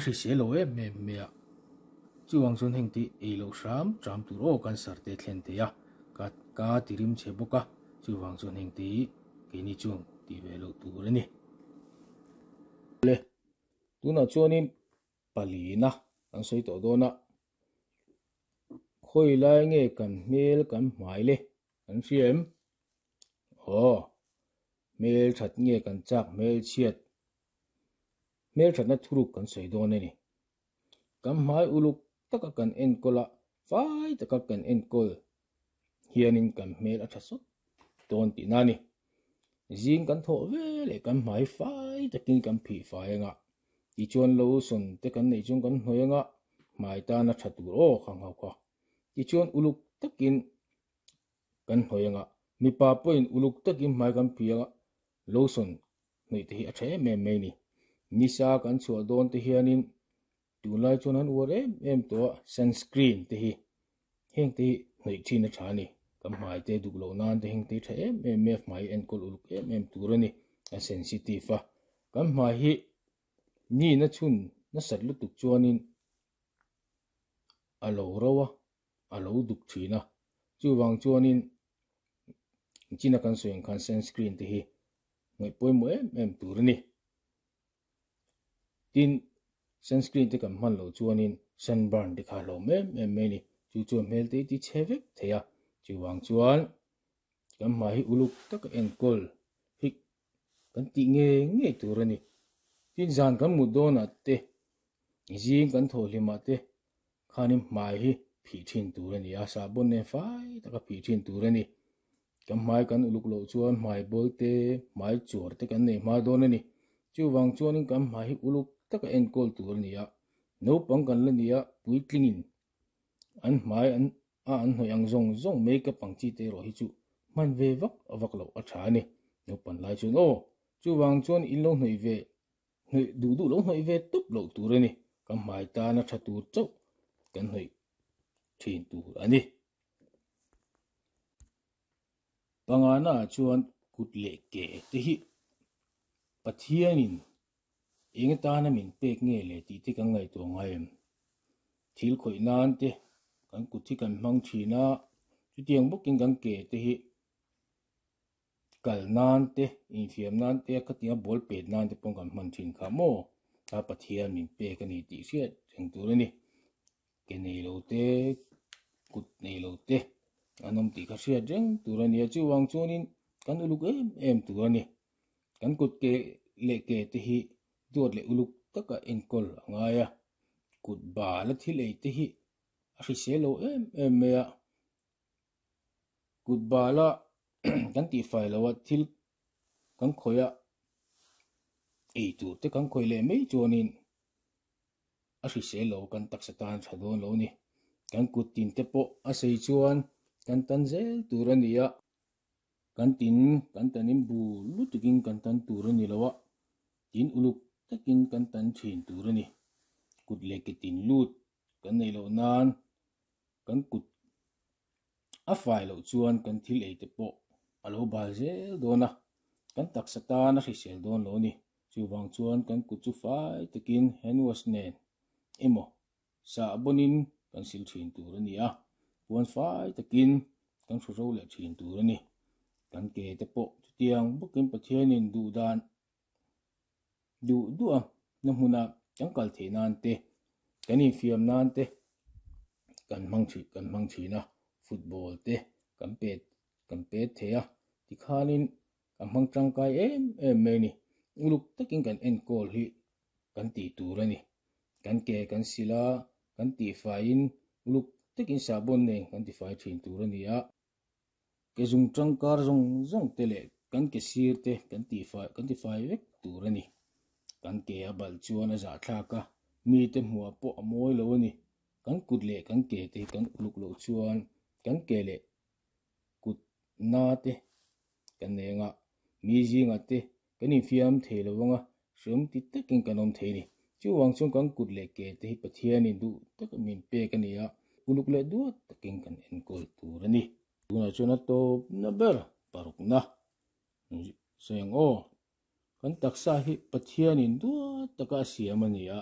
hrisel lo em em mai a. Chuvang chuan heng te ei loh hram hram tur aw cancer te a thlen thei a, ka ka ti rim chhe bawk a, chuvang chuan heng te hi keini chuan tih ve loh tur a ni. Le, tunah chuanin palina kan sawi tawh dawn a, khawi lai nge kan hmel kan hmai le kan hria em? Aw, hmel that nge kan chak hmel chhiat, hmel thatna thuruk kan sawi dawn a ni. Kan hmai uluk taka kan enkawl a, fai taka kan enkawl hianin kan hmel a tha sawt dawn tihna a ni. Zing kan thawh ve leh kan hmai fai takin kan phih fai anga, tichuan lotion te kan neih chuan kan hnawih anga, hmai tana tha tur aw kha nghauh kha. Tichuan uluk takin kan hnawih anga, mipa pawhin uluk takin hmai kan phih anga, lotion hnawih te hi a tha em em mai a ni. Nisa kan chhuah dawn te hianin tunlai chuan an uar em em tawh a, sunscreen te hi heng te hi hnawih thin a tha a ni. Kan hmai te duk loh nan te heng te hi tha em em mai a, hmai enkawl uluk em em tur a ni, a sensitive a. Kan hmai hi nihna chhun nasat lutuk chuanin a lo ro a, a lo duk thin a, chuvang chuanin china kan sawi ang khan sunscreen te hi ngaih pawimawh em em tur a ni. Tin, sunscreen te kan hman loh chuanin sunburn te kha a hlawm em em mai a ni. Chu chuan hmel te hi ti chhe vek thei a, chuvang chuan kan hmai hi uluk taka enkawl hi kan tih ngei ngei tur a ni. Tin, zan kan mut dawnah te, zing kan thawh hlimah te Khanin hmai hi phih thin tur a ni a, sahbawn nen fai taka phih thin tur a ni. Kan hmai kan uluk loh chuan hmai bawl te, hmai chuar te kan nei hma dawn a ni. Chuvang chuanin kan hmai hi uluk taka enkawl tur a ni a, naupang kan la ni a, puitlingin an hmai an a an hnawih ang zawng zawng makeup ang chi te erawh hi chu hman ve vak vak loh a tha a ni. Naupan lai chuan aw, chuvang chuan in lo hnawih ve Hnawih duh duh lo hnawih ve tawp loh tur a ni. Kan hmai tana tha tur chauh kan hnawih thin tur a ni. Pangana ah chuan kut leh ke te hi Pathianin eng atana min pek nge le tih te kan ngaihtuah ngai em? Thil khawih nan te kan kut hi kan hmang thin a, chutiang bawkin kan ke te hi Kal nan te, infiam nan te, khatianga ball pet nan te pawh kan hman thin kha maw? A Pathian min pek a ni tih hriat reng tur a ni. Ke nei lo te, kut nei lo te an awm tih kha hriat reng tur a ni a, chuvang chuanin kan uluk em em tur a ni. Kan kut ke leh ke te hi duat leh uluk taka enkawl a ngai a, kut bala thil ei te hi a hrisel lo em em mai a. Kut bala kan tihfai lo a thil kan khawih a ei tur te kan khawih leh mai chuanin a hrisel lo kan taksa tan tha dawn lo a ni. Kan kut tin te pawh a sei chuan kan tan zel tur a ni a, kan tin kan tanin bu lutukin kan tan tur a ni lo a, tin uluk takin kan tan thin tur a ni. Kut leh ke tin lut kan neih loh nan kan kut a fai loh chuan kan thil ei te pawh a lo bal zel dawn a, kan taksa tan a hrisel dawn lo a ni. Chuvang chuan kan kut chu fai takin hand wash nen emaw sahbawnin kan sil thin tur a ni a, puan fai takin kan hru ro leh thin tur a ni. Kan ke te pawh chutiang bawkin Pathianin duh dan duh duh a, na hmuna kan kal theih nan te, kan infiam nan te kan hmang thin kan hmang thin a, football te kan pet kan pet thei a, tikhanin kan hmang tangkai em em mai a ni. Uluk takin kan enkawl hi kan tih tur a ni. Kan ke kan sil a, kan tihfaiin uluk takin sahbawn nen kan tifai thin tur a ni a. Ke zung tangkar zawng zawng te leh kan ke sir te kan tihfai kan tifai vek tur a ni. Kan ke a balh chuan a zahthlak a, mite hmuah pawh a mawi lo a ni. Kan kut leh kan ke te hi kan uluk loh chuan kan ke leh kut na te kan nei anga, mi zingah te Kan infiam thei lo anga hreawm ti takin kan awm thei a ni. Chuvang chuan kan kut leh ke te hi Pathianin duh taka min pek a ni a, uluk leh duat takin kan enkawl tur a ni. Tunah chuan a tawpna ber parukna sawi ang aw. Kan taksa hi Pathianin duat taka a siam a ni a.